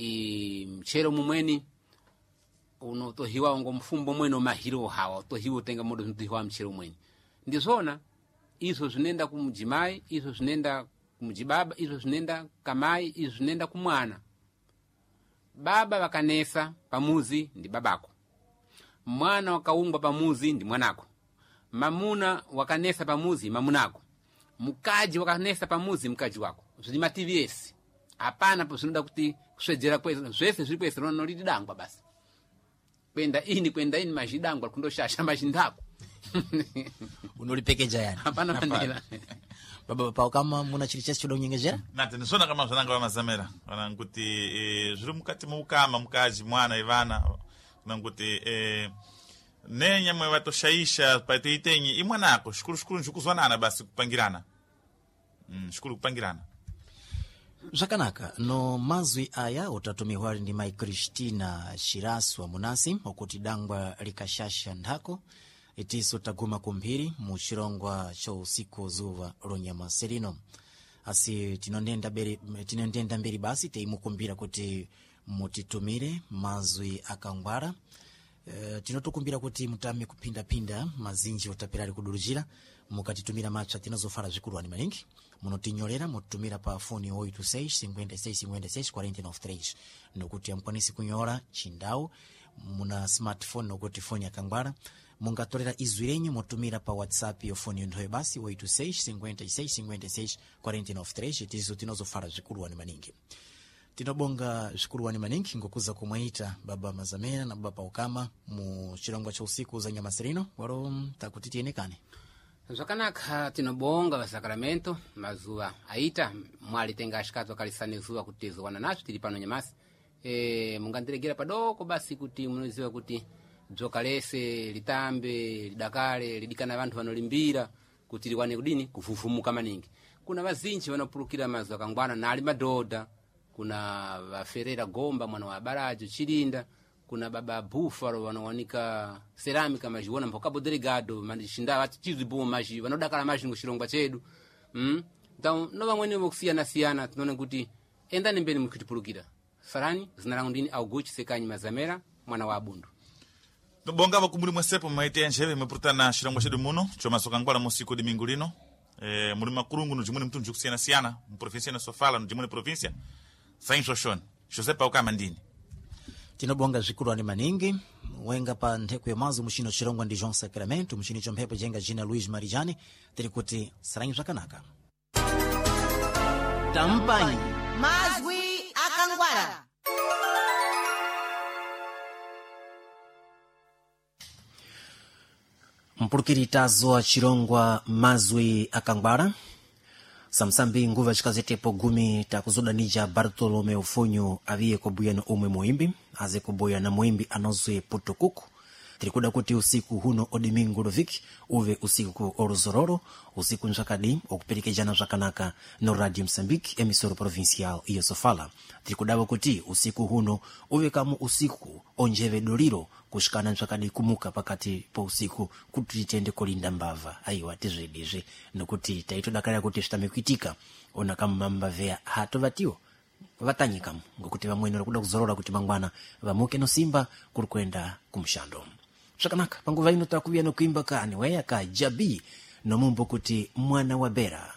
I mchero mumweni unotohiwa ngo mfumbo mwene umahiro hawa utohiwa utenga modo zinotohiwa mchero mweni ndizona izo zinenda kumujimai, izo zinenda kumujibaba, izo zinenda kamai, izo zinenda kumwana. Baba wakanesa pamuzi ndi babako, mwana wakaungwa pamuzi ndi mwanako, mamuna wakanesa pamuzi mamunako, mukaji wakanesa pamuzi mkaji wako. Zvili mativi ese, hapana po zvinoda kuti kuswedzera kwese, zvese zviri kwese noliti dangwa basi kwenda ini kwenda ini mazhidangwa kundoshasha mazhindako. Unolipekeja yani hapana manera. Baba pao kama muna chili chese choda kunyengezera Nati ndizvona kama zvananga vamazamera vananguti zviri mukati moukama mukaji mwana ivana vananguti nenyamwe vatoshaisha paitoitenyi imwanako shukuru shukuru nzvikuzwanana basi kupangirana, shukuru kupangirana. Zvakanaka no mazwi aya utatumiwa ndi mai Cristina Shirasu wa munasi okuti dangwa likashasha nthako itiso taguma kumphiri mu chirongwa cha usiku zuva lonyama serino. Asi tinondenda mberi basi teimukumbira kuti mutitumire mazwi akangwara. Tinotokumbira kuti mutame kuphindaphinda mazinji otapirali kuduluzira mukatitumira matsva tinozofara zvikuluwani maningi. Munotinyorera mutitumira pa foni 86 56 56 49 nokuti amukwanisi kunyora chindau muna smartphone nokuti foni yakangwara mungatorera izwi renyu motumira pa WhatsApp yo foni yonthoyo basi 86 56 56 49 itizo tinozofara zvikuluwani maningi. Tinobonga zvikuluwani maningi ngokuza kumwaita baba Mazamena na baba Paukama mu chirongwa cha usiku za nyamasirino waro takuti tiyenekane. Zvakanaka, tinobonga vasakramento mazuva aita mwali tenga ashikatu akalisane zuva kuti tizowana nacho tili pano nyamasi. Mungandiregera padoko basi kuti munoziva kuti dzoka lese litambe lidakale lidikana vanthu vanolimbira kuti liwane kudini kuvuvumuka maningi. Kuna vazinji vanopulukira mazuva akangwana nali madhodha, kuna vaferera gomba mwana wa barajo chilinda, kuna baba bufalo vanowanika ceramica majiona mpaka delegado mandishinda vati chizwi maji vanodakala maji ngo chirongwa chedu. Então no vamweni vokusiyana siyana tinoona kuti endani mbeni mukitipulukira. Sarani zina langu ndini Augusto Sekanyi Mazamera mwana wa Abundu. Tobonga vakumuli mwesepo mwaite njeve mwepurutana chirongwa chedu muno chomasoka ngwala musiku dimingu lino. Muli makulungu no jimweni mtundu kusiyana-siyana mu província na Sofala no jimweni província Sain Xoxone José Paukama ndini. Tinobonga zvikuluwani maningi wenga pa ntheko ya mazo muchino chirongwa ndi João Sacramento muchini cha mphepo jenga jina Luiz Marijani tiri kuti saranyi zvakanaka. Tampanyi mazwi akangwara. Mpulukiri tazowa chirongwa mazwi akangwara samsambi nguva chikazetepo gumi takuzodanija Bartolomeu Funyu aviye kubuya na umwe muimbi aze kubuya na muimbi anozwe putukuku. Tirikuda kuti usiku huno odimingu loviki uve usiku oluzororo usiku nzvakadi okuperekejana zvakanaka no Radio Mozambique emissora provincial iyo Sofala. Tirikudawo kuti usiku huno uve kamu usiku onjeve doliro kushikana nzvakadi kumuka pakati po usiku kuti titende kulinda mbava aiwa tizvedizve nokuti taitodakarira kuti zvitame kuitika ona kamumambavheya hatovatiwo vatanyikamu ngokuti vamweni vari kuda kuzorora kuti mangwana vamuke nosimba kuri kuenda kumushando. Zvakanaka panguva ino takuvuya nokuimba ka aniweya ka Jabi nomumbo kuti mwana wa Bera.